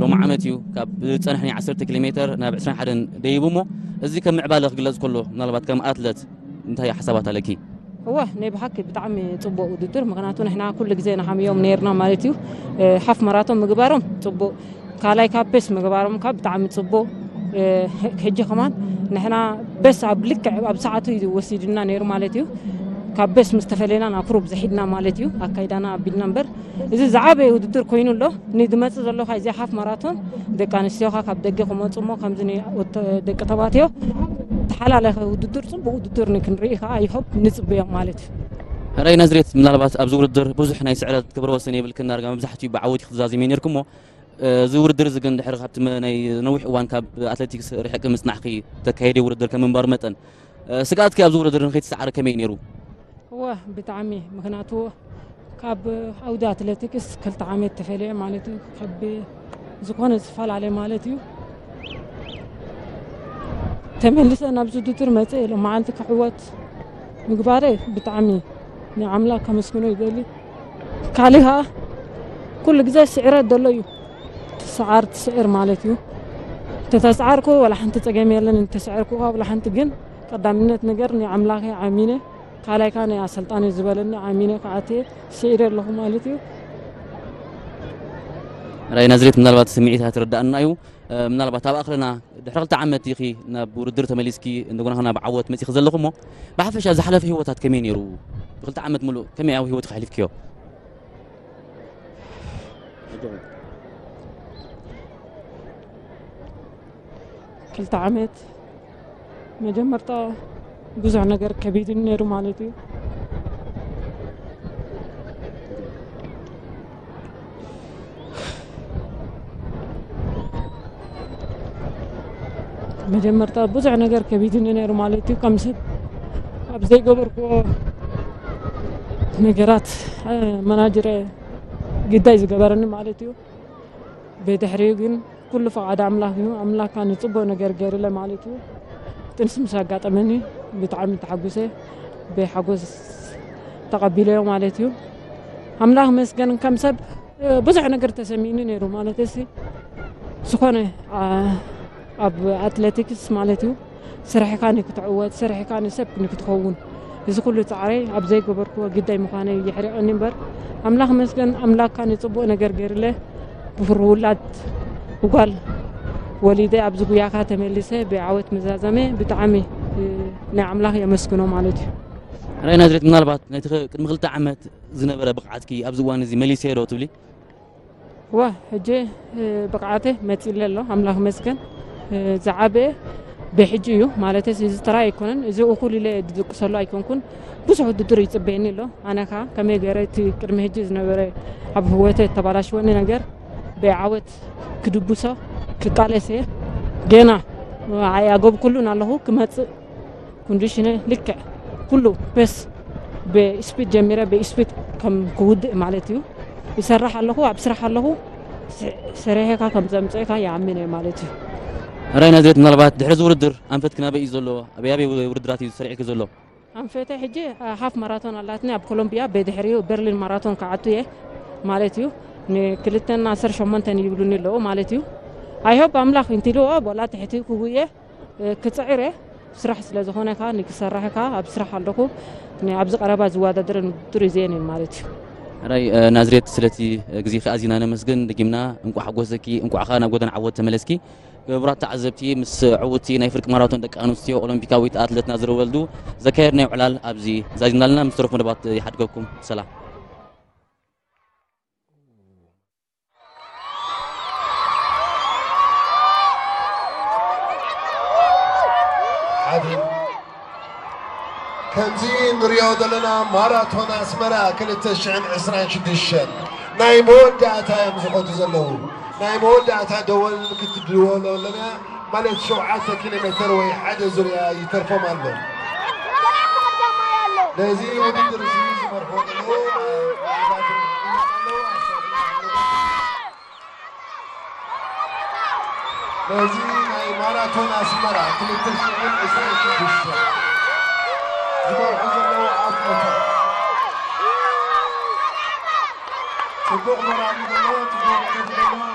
ሎሚ ዓመት እዩ ካብ ዝፀንሕ ናይ ዓሰርተ ኪሎ ሜትር ናብ ዕስራን ሓደን ደይቡ እሞ፣ እዚ ከም ምዕባለ ክግለፅ ከሎ፣ ምናልባት ከም ኣትለት እንታይ ሓሳባት ኣለኪ? እወ፣ ናይ ብሓቂ ብጣዕሚ ጽቡቕ ውድድር፣ ምኽንያቱ ንሕና ኩሉ ግዜ ንሓምዮም ነይርና ማለት እዩ። እ፣ ሓፍ ማራቶን ምግባሮም ጽቡቕ፣ ካልኣይ ካብ ፔስ ምግባሮም ካብ ብጣዕሚ ጽቡቕ። እ፣ ሕጂ ከማን ንሕና በስ ኣብ ልክዕ ኣብ ሰዓቱ እዩ ወሲድና ነይሩ ማለት እዩ። ካብ በስ ምስ ተፈለና ናብ ክሩብ ዝሒድና ማለት እዩ፣ ኣካይዳና ኣቢልና እምበር። እዚ ዝዓበየ ውድድር ኮይኑ ኣሎ። ንዝመጽእ ዘሎ ካብ እዚኣ ሓፍ ማራቶን ደቂ ኣንስትዮኻ ካብ ደገ ክመጹ እሞ ከምዚ ኒ-፣ ወተ-፣ ደቂ ተባዕትዮ ተሓላለኸ ውድድር፣ ጽቡቕ ውድድር ንክንርኢ ከኣ ይሆፕ ንጽበዮም ማለት እዩ። ሕራይ ናዝሬት፣ ምናልባት ኣብዚ ውድድር ብዙሕ ናይ ስዕረት ክብረ ወሰን የብልክን፣ ዳርጋ መብዛሕትኡ ብዓወት ኢኹም ትዛዘሙ ነይርኩም እሞ፣ እዚ ውድድር እዚ ግን ድሕሪ ካብቲ መ-፣ ናይ ነዊሕ እዋን ካብ ኣትሌቲክስ ርሒቕኪ ምጽናሕኪ፣ ተካየዲ ውድድር ከም ምንባሩ መጠን፣ ስግኣትኪ ኣብዚ ውድድር ንኸይትሰዓሪ ከመይ ነይሩ? እወ፣ ብጣዕሚ። ምኽንያቱ ካብ ዓውዲ ኣትሌቲክስ ክልተ ዓመት ተፈልየ ማለት እዩ። ካብ ዝኾነ ዝፈላለ ማለት እዩ። ተመሊሰ ናብዚ ውድድር መጽእ ኢለ መዓልቲ ክዕወት ምግባረ ብጣዕሚ ንኣምላኽ ከመስግኖ ይደሊ። ካልእ ከኣ ኩሉ ግዜ ስዕረት ዘሎ እዩ። ትስዓር ትስዕር ማለት እዩ። እንተተስዓርኩ ዋላ ሓንቲ ጸገም የለን፣ እንተስዐርኩ ከኣ ዋላ ሓንቲ። ግን ቀዳምነት ነገር ንኣምላኸ ኣሚነ፣ ካልኣይ ከኣ ናይ ኣሰልጣኒ ዝበለኒ ኣሚነ ክኣትየ ስዒረ ኣለኹ ማለት እዩ። ራይ ናዝሬት፣ ምናልባት ስምዒታ ትርዳእና እዩ። እ፣ ምናልባት ኣብ ኣኽርና ድሕሪ ክልተ ዓመት ኢኺ ናብ ውድድር ተመሊስኪ፣ እንደገና ናብ ዓወት መጺኺ ዘለኹ እሞ፣ ብሓፈሻ ዝሓለፈ ህይወታት ከመይ ነይሩ? ብክልተ ዓመት ሙሉእ ከመይ ኣብ ህይወትኪ ኣሕሊፍክዮ? ክልተ ዓመት መጀመርታ ብዙሕ ነገር ከቢድኒ ነይሩ ማለት እዩ። መጀመርታ ብዙሕ ነገር ከቢድኒ ነይሩ ማለት እዩ። ከም ሰብ ኣብ ዘይገበርክዎ ነገራት፣ እ፣ መናጀረ ግዳይ ዝገበረኒ ማለት እዩ። ብድሕሪኡ ግን ኩሉ ፍቓድ ኣምላኽ እዩ። ኣምላኽ ከኣ ንጽቡቕ ነገር ገይሩለ ማለት እዩ። ጥንሲ ምስ ኣጋጠመኒ ብጣዕሚ ተሓጒሰ፣ ብሓጎስ ተቐቢለዮ ማለት እዩ። ኣምላኽ መስገን ከም ሰብ፣ እ፣ ብዙሕ ነገር ተሰሚኒ ነይሩ ማለት እሲ ዝኾነ፣ ኣ፣ ኣብ ኣትሌቲክስ ማለት እዩ። ስራሕካ ንክትዕወት፣ ስራሕካ ንሰብ ንክትኸውን፣ እዚ ኩሉ ጻዕረይ ኣብ ዘይገበርክዎ ግዳይ ምዃነይ የሕሪቐኒ እምበር፣ ኣምላኽ መስገን፣ ኣምላኽካ ንጽቡቕ ነገር ገይርለ፣ ብፍሩ ውላድ ጓል ወሊደ ኣብዚ ጉያኻ ተመሊሰ ብዓወት ምዛዘመ ብጣዕሚ፣ እ፣ ናይ ኣምላኽ የመስግኖ ማለት እዩ። ራይ ናዝሬት፣ ምናልባት ነቲ ኸ-፣ ቅድሚ ክልተ ዓመት ዝነበረ ብቕዓትኪ ኣብዚ እዋን እዚ መሊሰዮ ዶ ትብሊ? ዋ፣ ሕጂ፣ እ፣ ብቕዓተ መጺለ ኣሎ፣ ኣምላኽ መስገን። እ፣ ዝዓበየ ብሕጂ እዩ፣ ማለት እዚ ጥራይ ኣይኮነን፣ እዚ እኹል ኢለ ዝድቅሰሉ ኣይኮንኩን። ብዙሕ ውድድር ይጽበየኒ ኣሎ። ኣነ ከኣ ከመይ ገይረ እቲ ቅድሚ ሕጂ ዝነበረ ኣብ ህይወተ እተባላሽወኒ ነገር ብዓወት ክድብሶ ክቃለስ እየ። ገና ኣያጎብኩሉን ኣለኹ፣ ክመጽእ ኮንዲሽነ ልክዕ ኩሉ ፔስ ብስፒድ ጀሚረ ብስፒድ ከም ክውድእ ማለት እዩ። ይሰርሕ ኣለኹ፣ ኣብ ስራሕ ኣለኹ። ስ-፣ ሰሪሐካ ከም ዘምጽእካ ይኣምን እየ ማለት እዩ። ራይ ናዝሬት፣ ምናልባት ድሕሪ እዚ ውድድር ኣንፈትኪ ናበይ እዩ ዘሎ? ኣበይ ኣበይ ውድድራት እዩ ሰሪዕኪ ዘሎ? ኣንፈተ ሕጂ፣ አ፣ ሃፍ ማራቶን ኣላትኒ ኣብ ኮሎምቢያ፣ ብድሕሪኡ በርሊን ማራቶን ክኣቱ እየ ማለት እዩ። ንክልተን ዓሰርተ ሸሞንተን ይብሉኒ ኣለዉ ማለት እዩ። ኣይ ሆፕ ኣምላኽ እንቲልዎ ቦላ ትሕቲ ክጉየ እ፣ ክጽዕር እየ። ስራሕ ስለ ዝኾነ ከኣ ንክሰርሕ ከኣ ኣብ ስራሕ ኣለኹ። ን-፣ ኣብዚ ቀረባ ዝወዳደረን ውድድር እዚኤን እየን ማለት እዩ። ሕራይ፣ እ፣ ናዝሬት፣ ስለቲ፣ እ፣ ግዜኺ ኣዚና ነመስግን። ደጊምና እንቋዕ ሓጎሰኪ፣ እንቋዕ ከኣ ናብ ጎደና ዓወት ተመለስኪ። ክቡራት ተዓዘብቲ፣ ምስ ዕውትቲ ናይ ፍርቂ ማራቶን ደቂ ኣንስትዮ ኦሎምፒካዊት ኣትለት ናዝሪ ወልዱ ዘካየድናዮ ዕላል ኣብዚ ዛዚምና ኣለና። ምስ ተረፉ መደባት ይሓድገኩም። ሰላም። ሓደ። ከምዚ ንሪኦ ዘለና ማራቶን ኣስመራ ክልተ ሽሕን ዕስራን ሽዱሽተን ናይ መወዳእታ እዮም ዝኸዱ ዘለዉ። ናይ መወዳእታ ደወል ክትድወሎ ኣለና ማለት ሸውዓተ ኪሎ ሜትር ወይ ሓደ ዙርያ ይተርፎም ኣሎ። ነዚ ውድድር እዚ ዝመርሑ ዘለዉ ነዚ ናይ ማራቶን ኣስመራ ክልተ ሽሕን ዕስራን ሽዱሽተ ዝመርሑ ዘለዉ ኣትለታት ጽቡቕ መራሒ ዘለዎ፣ ጽቡቕ መራሒ ዘለዎ።